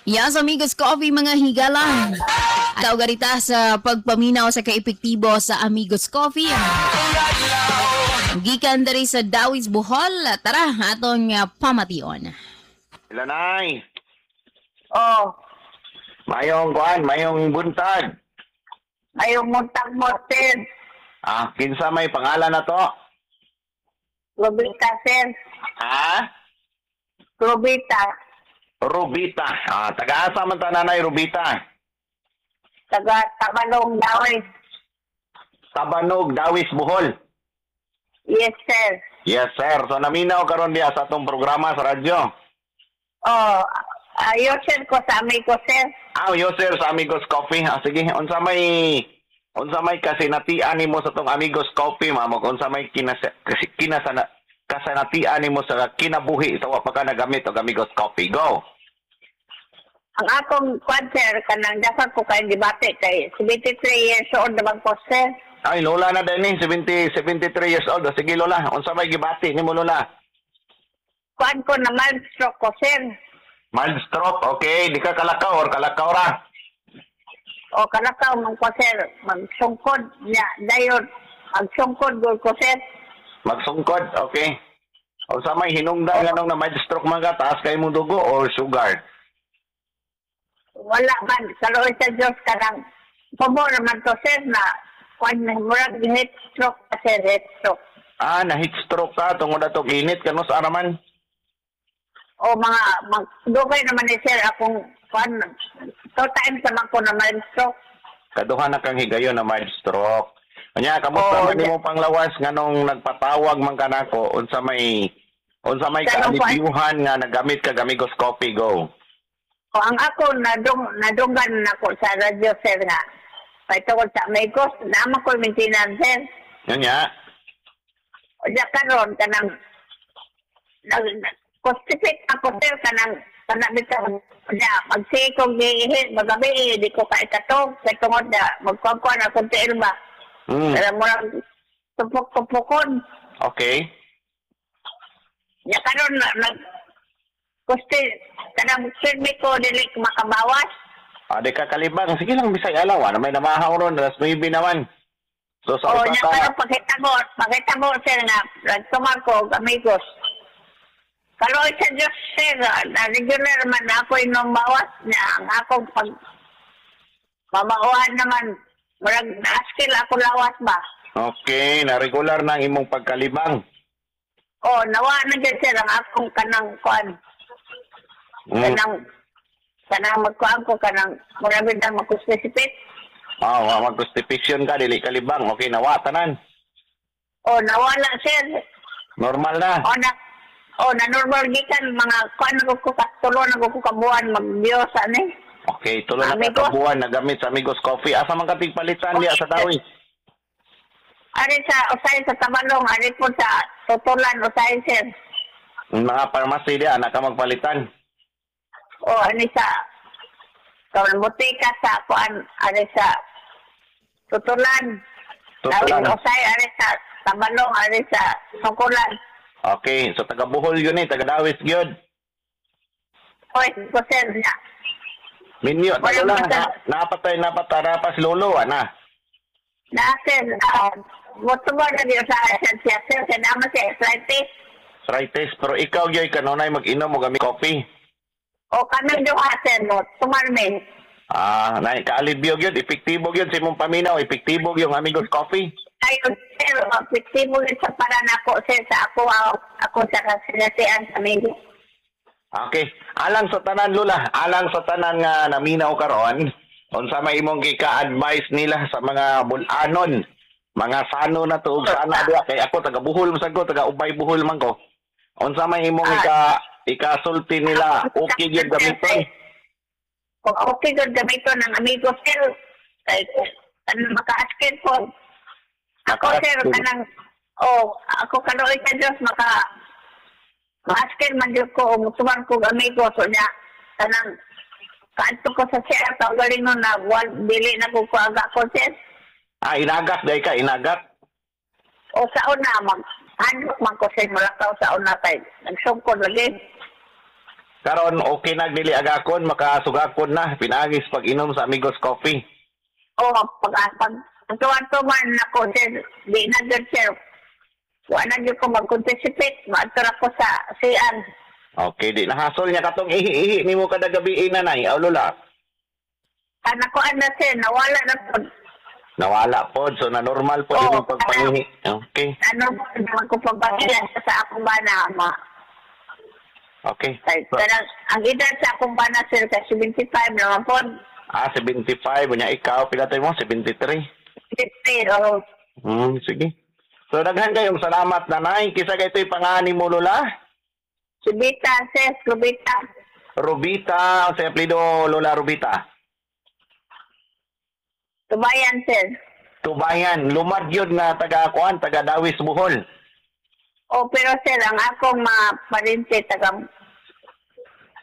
Yes, Amigos Coffee, mga higala. At garita sa pagpaminaw sa kaepektibo sa Amigos Coffee. Gikan diri sa Dawis, Bohol. Tara, atong pamation. Ilanay, Oh, mayong kuan, mayong buntag. Mayong buntag mo, sir. Ah, kinsa may pangalan na to? Rubita, sir. Ha? Rubita. Rubita. Ah, taga-asa man ta, Nanay Rubita? Taga Tabalong, Dawis. Tabanog, Dawis, Bohol. Yes, sir. Yes, sir. So naminaw karon diya sa atong programa sa radyo. Oh, ayo, sir, ko sa amigo, sir. Ah, yo sir sa Amigos Coffee. Ah, sige, unsa may kasinatian nimo sa tong Amigos Coffee, ma'am? Ug unsa may kasi kinasana kasanatian nimo sa kinabuhi sa wa pa ka nagamit og Amigos Coffee? Go. Ang akong kwan, sir, kanang dapat ko kayong debate kay 73 years old naman ko, sir. Ay, lola na din eh, 70, 73 years old. Ah, sige, lola. Unsa may gibati nimo, lola? Kwan ko na mild stroke ko, sir. Mild stroke, okay. Di ka kalakaw or kalakaw ra? O kalakaw man ko, sir. Magsungkod niya. Dayon, magsungkod gud ko, sir. Magsungkod, okay. Unsa may hinungdan nganong na mild stroke man ka, taas kay mong dugo or sugar? Wala man. Kaluoy sa Diyos, kanang pumo naman to, sir, na kwan na murag heat stroke ka, sir, heat stroke. Ah, na heat stroke ka tungod atong init kano sa araman. O mga mag, dugay naman ni sir akong kwan, two times naman ko na mild stroke. Kaduha na kang higayon na mild stroke. Anya, kamusta man nimo panglawas nganong nagpatawag man kanako? Unsa may Kanang kaalibyuhan nga nagamit ka Amigos Coffee? Go. O ang ako nadunggan nako sa radyo, sir, nga kay tungod sa Amigos naman ko maintenance, sir. Nya. O diya karon kanang nag constipate ako, sir, kanang kanang bitaw niya magsige kong giihi magabi eh, di ko kaikatog kay tungod na magkuan akong tiil ba. Kaya mo lang tupok-tupokon. Ya karon na nag kusti kanang silbi ko dili ko makabawas. Ah, di ka kalibang. Sige lang, bisay alaw. Ano may namahaw ron, alas 9 naman. So sa O usa nya ka karon pakita mo, sir, nga nagtumar ko og Amigos. Kaluoy sa Diyos, sir, na regular man ako inom bawas niya ang akong pag mamauhan naman murag naaskil ako lawas ba. Okay, na regular na ang imong pagkalibang. O nawa na gyud, sir, ang akong kanang kuan kanang kanang magkuan ko kanang murag bitaw magkuspesipit. Ah, wa mag-constipation ka, dili kalibang. Okay, nawa tanan. O nawala, sir. Normal na. O na normal gikan mga kuan ko tulo na ko kabuan magbiyosa ni. Okay, tulo na ka Amigos. kabuan nagamit sa Amigos Coffee. Asa man ka tigpalitan diya sa Dawis? Ari sa usay sa Tabalong, ari po sa Tutulan usay, sir. Mga pharmacy diya, anak ka magpalitan. O ani sa kawan butika sa kuan ari sa Tutulan. Tutulan. Dawis usay ari sa Tabalong, ari sa Sungkulan. Okay, so taga Bohol yun eh, taga Dawis gyud. Oy, ko, sir niya. Minyo, Wala taga lang. pa. Napatay, napatara pa si Lolo, ana. Na sir, mo na diyo sa siya, sir, kaya naman siya arthritis. Arthritis, pero ikaw gyud kanunay mag-inom og Amigos Coffee. O kami duha, sir, mo tumarmi. Ah, nay kaalibyo gyud, epektibo gyud sa imong paminaw, epektibo gyud ang Amigos Coffee. Ayon, sir, epektibo yun sa para nako, sir, sa ako, ako sa kasinatian sa media. Okay. Alang sa tanan, Lola, alang sa tanan nga naminaw karon, unsa may imong gika-advise nila sa mga bulanon, mga sano na tuog sana diha kay ako taga Bohol man sad ko, taga Ubay Bohol man ko. Unsa may imong ikasulti nila, okay gyud gamiton? Kung okay gyud gamiton ng Amigo, sir, kay ano maka-askin po. Ako, sir, Maka-askin. Kanang oh, ako kaluoy sa Diyos maaskin man jud ko o mutuman ko og Amigo, so niya kanang kaadto ko sa siya tawgaling no na wal dili na ko kuaga ko, sir. Ah, inagak day ka, inagak. O sa una mag handok man ko, sir, mulakaw sa una kay nagsungkod lagi. Karon okay na dili agakon, makasugakon na pinaagis pag-inom sa Amigos Coffee. Oh, pag tuwan-tuwan ako sir, di na gyud sir. Wa na gyud ko mag-participate, maadto ra ko sa CR. Okay, di nahasol niya katong ihi-ihi nimo kada gabi nanay, aw lola. Kana ko ana sir, nawala na pod. Nawala pod, so na normal pod Oo, imong pagpangihi. Okay. Ano naman ko pagpahiya sa akong bana ma. Okay. Kay So, kanang ang edad sa akong bana sir kay 75 naman pod. Ah, 75 unya ikaw pila tayo mo? 73. 50 oh. Sige. So daghan kayong salamat nanay. Kisa kay ito'y pangani mo lola? Subita sir, Rubita. Rubita, sa apelyido Lola Rubita. Tubayan sir. Tubayan, lumad yun nga taga kuan, taga Dawis Bohol. Oh, pero sir, ang akong mga parente taga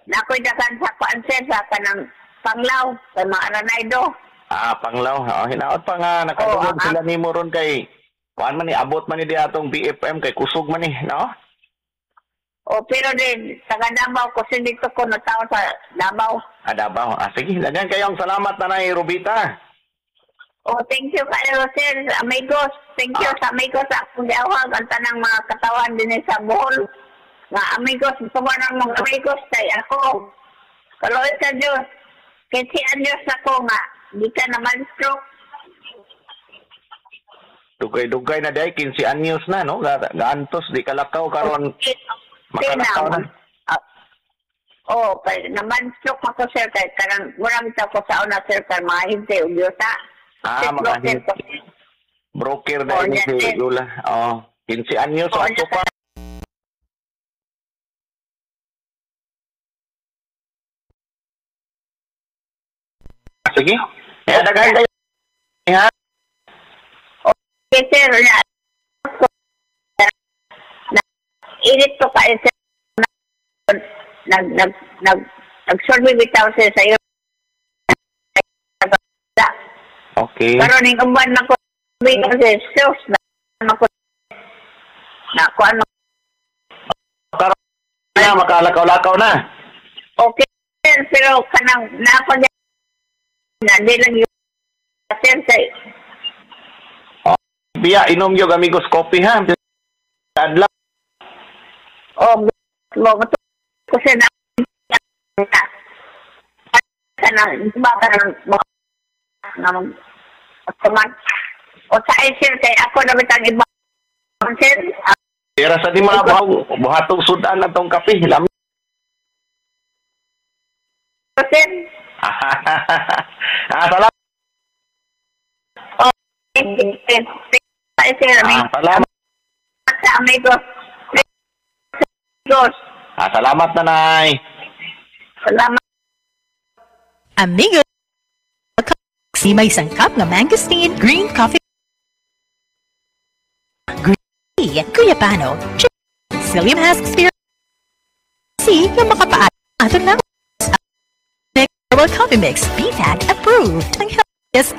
nakoy dagan sa kuan sir sa kanang Panglaw, kay mga Aranaydo. Ah, Panglaw. Oh, hinaot pa nga nakadungog Oo, sila nimo ron kay kuan man ni abot man ni di atong BFM kay kusog man ni, no? Oh, pero din taga Davao ko sir dito ko nataw sa Davao. Ah, Davao. Ah, sige, daghan kayong salamat nanay Rubita. Oh, thank you kayo sir, amigos. Thank you sa amigos sa akong giawhag ang tanang mga katawan dinhi sa Bohol. Nga amigos, tuwa ng mga amigos kay ako. Kaloy sa Diyos. Kay si Diyos ako nga, di ka naman stroke. Dugay-dugay na day 15 anyos na, no? Gaantos di kalakaw karon makalakaw na. Oh, kay naman stroke ako sir kay kanang mura bitaw ko sa una sir kay mga hinte ug yuta. Ah, mga hinte. Broker Oh, na ni si yan, sir. Lola. Oh, 15 anyos Oh, ato yan. pa. Sige. Eh, daghan kayo. Ha? Okay sir, na init ko kayo sir. Nag nag nag nagsurvey bitaw sir sa iyo. Okay. Karon ning uban na ko bitaw sir, sus na ako na ko ano. Karon na makalakaw-lakaw na. Okay sir, pero kanang na ako niya na di lang yun sir kay Biya, inom yung Amigos Coffee ha. Adlaw. Oh, mo ko sir na kanang ba kanang na mag tuman o sa ay sir kay ako na bitang iba sir. Tira sa di mga buhatong sudan na tong kape. Lami. Sir. Ah, salamat. Oh, sir, sir, Ah, salamat. sa amigos. Amigos. Ah, salamat nanay. Salamat. Amigo si may sangkap nga mangosteen, green coffee, green tea, guyabano, psyllium husk spear, C nga makapaat aton lang herbal coffee mix, BFAT approved. Ang healthiest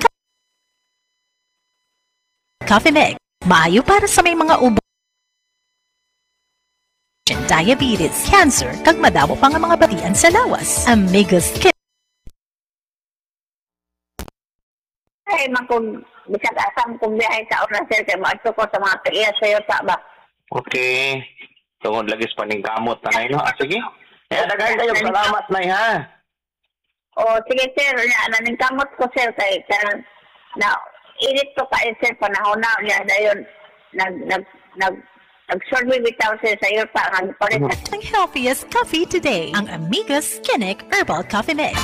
coffee mix, maayo para sa may mga ubo, diabetes, cancer, kag madamo pa nga mga batian sa lawas. Amigos Kit. Ay, man kung bisag asam kung biyahe sa oras sir, kay maadto ko sa mga tiya sa'yo sa ba. Okay. Tungod lagi sa paningkamot nanay no. Ah, sige. Eh, daghan kayo salamat nay ha. O, sige sir, na naningkamot ko sir kay kanang na init ko kayo sir panahon na niya dayon nag nag nag nagsurvey bitaw sir sa iyo pa ang palit. Ang healthiest coffee today. Ang Amigos Kinnick Herbal Coffee Mix.